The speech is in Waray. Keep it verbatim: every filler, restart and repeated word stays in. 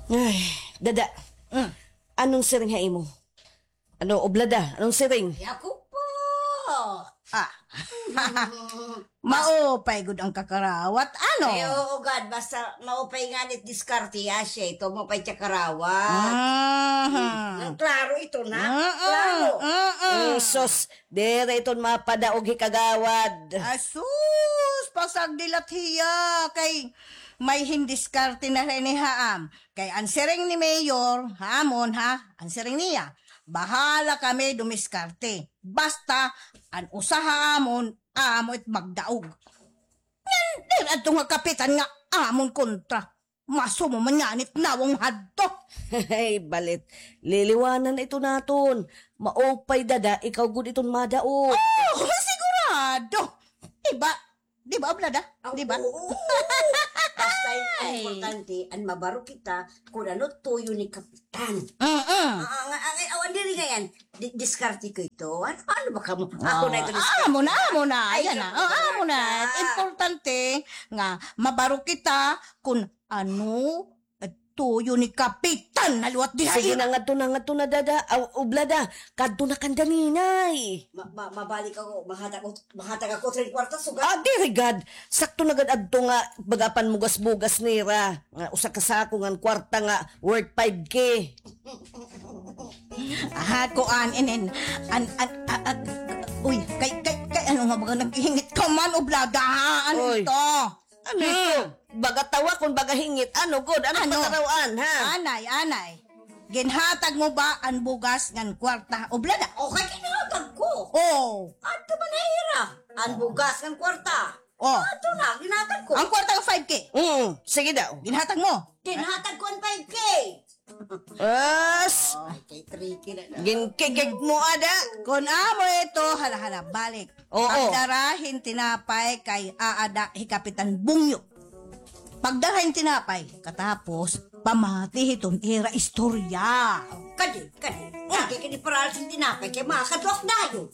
Ay, dada. Mm. Anong siring ha imo? Ano, oblada? Anong siring? Ay, ako po. Ah. Maupay gud an kakarawat, ano? Ay, oo, gad. Basta maupay ngani it diskarte, asya ito, maupay it kakarawat. Mhm. Hmm, klaro ito na. Mm-mm, klaro. Mm-mm. Mm, sus, diri iton mapadaog hi kagawad. Asus, pasagdi la hiya, kay may hin diskarte na ini ha am. Kay an siring ni Mayor, ha amon, ha? An siring niya, bahala kami dumiskarte. Basta, an usa ha amon, amo it magdaog. Ngan, diri adto nga kapitan nga amon kontra. Masumo man ngani it nawong hadto. Ay, balit. Liliwanan ito naton. Maupay, dada, ikaw gud iton madaog. Oh, sigurado. Di ba? Di ba, oblada? Di ba? Oo. Basta an importante, an mabaro kita, kun ano tuyo ni Kapitan. Mm-mm. Ah, ah, nga, ah, ah, awan diri ngay-an. Di-, diskarte ko ito. Ano, ano ba kamo? Ako na ito, ah, diskarte. Amo na, amo na. Ay, ayan na. Oh, amo na. Importante nga mabaro kita kun ano tuyo ni Kapitan na liwat diha. Sige na, ngadto na, ngadto na, dada. Aw, oblada. Kadto na kan daninay. Ma-, ma-, mabalik ako. Mahatag ako, mahatag ako tren kwarta, sugad. Ah, diri gad. Sakto na gad adto nga baga panmugas-mugas nira. Nga usa ka sako ngan kwarta nga worth five K. Aha, kuan, inin, an, an, a, a, uy, kay, kay, kay, ano nga baga naghihingit ka man, oblada, ha? Ano ito? Ano ito? Baga tawa kun baga hingit. Ano gud? Ano? Pataraw-an, ha? Anay, anay. Ginhatag mo ba an bugas ngan kwarta, oblada? Okay, ginhatag ko. Oh. Adto man ha ira. An bugas ngan kwarta. Oh. Ato na, ginhatag ko. An kwarta nga five K? Mm, sige daw. Ginhatag mo? Ginhatag ko an five K. As! Ay, kay tricky na na. Ginkikik mo, ada. Kon amo ito, hala, hala, balik. Oo. Pagdara hin tinapay kay aada hi Kapitan Bungyo. Pagdara hin tinapay, katapos, pamati hiton ira istorya. Kadi, kadi. Lagi kini paral sin tinapay, kay makatuak dayon.